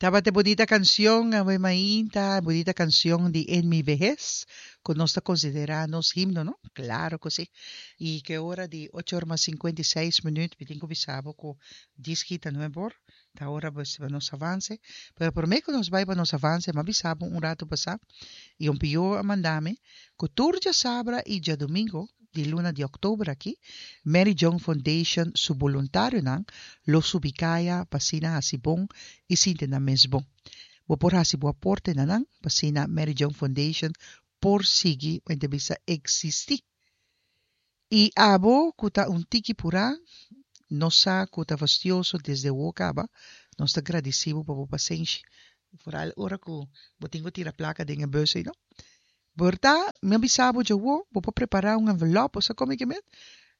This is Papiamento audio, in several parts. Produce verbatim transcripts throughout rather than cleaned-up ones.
Tabata bunita canción, Ave Mainta, bunita canción di En mi vejez, cu nos ta considera nos himno, no? Claro cu si. Y cu ora di ocho or mas cincuenta y seis minuut, mi tin cu bisa bo cu dies kita nuebe or, ta ora pues pa nos avance. Pero prome cu nos bay pa nos avance, m'a bisa bo un rato pasa, y un pio a manda mi, cu tur djasabra y djadomingo di luna di october aki, Mary Joan Foundation su boluntarionan lo subi caya pa asina haci bon y sinti nan mes bon. Bo por haci bo aporte na nan pa asina Mary Joan Foundation por sigui o ente bisa existi. Y abo cu ta un tiki pura, nos sa cu ta fastioso desde awor caba, nos ta gradici bo pa bo pasenshi. Vooral ora cu bo tin cu tira placa den e bus ey, no? Por ta, mi a bisa bo djawo, bo por prepara un envelop, bo sa como ke men?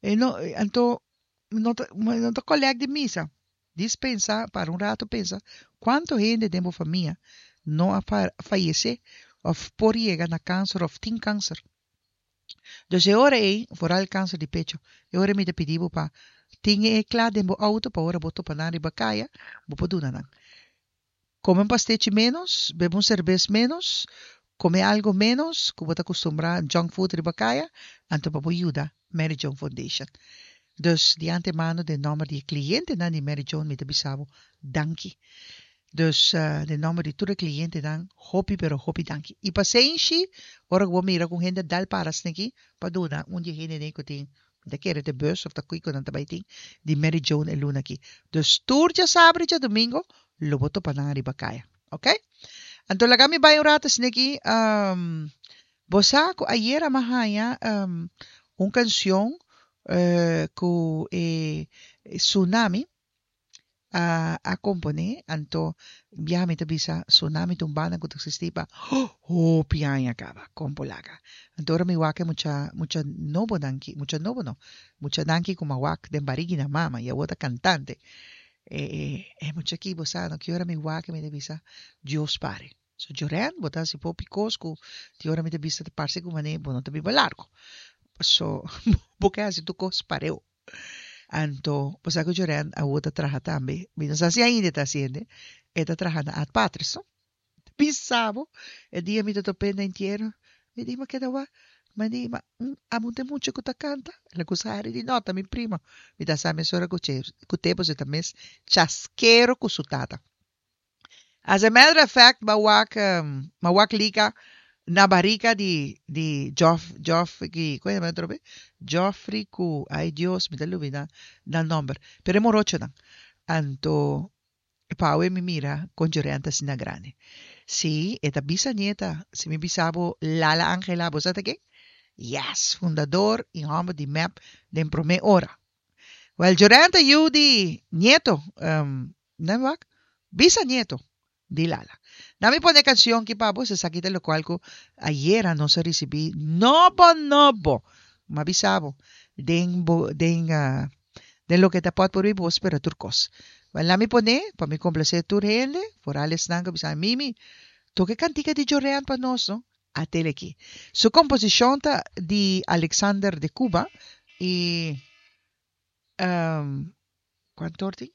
E no, anto, no ta, no ta collect di misa. Dis pensa, para un rato pensa, cuanto hende den bo famia no a fayece of por yega na cancer of tin cancer. Dus e ora ei, vooral cancer di pecho, e ora mi ta pidi bo pa tin e cla den bo auto pa ora bo topa nan riba caya, bo por duna nan. Come un pastechi menos, bebe un cerbes menos, come algo menos cu bo ta acostumbra junk food riba caya, anto pa bo yuda Mary Joan Foundation. Dus di antemano den nomber di e clientenan di Mary Joan mi ta bisa bo danki. Dus den nomber di tur e clientenan hopi pero hopi danki. Y pasenshi ora cu bo mira cu un hende dal para sneki pa duna un di e hendenan cu tin mi ta kere te bus of ta kico nan ta bay tin di Mary Joan e luna aki. Dus tur djasabra y djadomingo lo bo topa nan ariba caya. Ok? Anto laga mi bay un rato sneki. Um, bo sa cu ayera mi a haya um, un cancion uh, cu e Tsunami a, a compone. Anto bia mi ta bisa Tsunami ta un banda cu ta existi pa hopi aña caba, con por laga. Anto ora mi wak e mucha, mucha nobo danki, mucha nobo no, mucha danki cu mi a wak den barigi na mama y awor ta cantante. E, e, e mucha aki bo sa no ki ora mi wak mi ta bisa Dios pare. So Joren, bo ta hasi popi kos ku ti ora mi ta bisa ta parse ku manera bo no ta biba largo. Paso bo ke hasi tur kos pareu. Anto bo sa ku Joren awor ta traha tambe, mi no sa si ainda e ta hasiende, e ta traha na Ad Patres no. Bisa bo, e dia mi ta top'é na entiero, mi di, ma keda wak, mi di, ma amo un te mucha ku ta kanta? El a kusa hari di, no, ta mi primo. Mi ta sa mesora ku che, ku te pasobra e ta mes chaskero ku su tata. As a matter of fact, m'a wak, m'a wak lika na barika di, di Joff, Joff, ki, kon e yama atrobe? Joffrey ku, ay Dios, mi ta lubida nan nomber, pero e morochonan. Anto, Pawe mi mira kon Joren ta asina grandi. Sí, e ta bisanieta. Si mi bisa bo Lala Angela, bo sa ta ken? Yes, fundador i hòmber di mep den promé ora. Wèl, Joren ta yu di nieto, um, nan mi wak? Bisanieto di Lala. Nan mi pone e kanshon ki pa bo, esaki ta lokual ku ayera nos a risibí nobo nobo. M'a bisa bo, den bo, den, uh, Den loke ta pot por bo spera tur kos. Wel laat mi pone pa mi komplase tur hende, foral esnan ku bisa Mimi, toka e kantika di Jorean pa nos no. Atel aki. Su komposishon ta di Alexander de Cuba i um, kuantu or tin?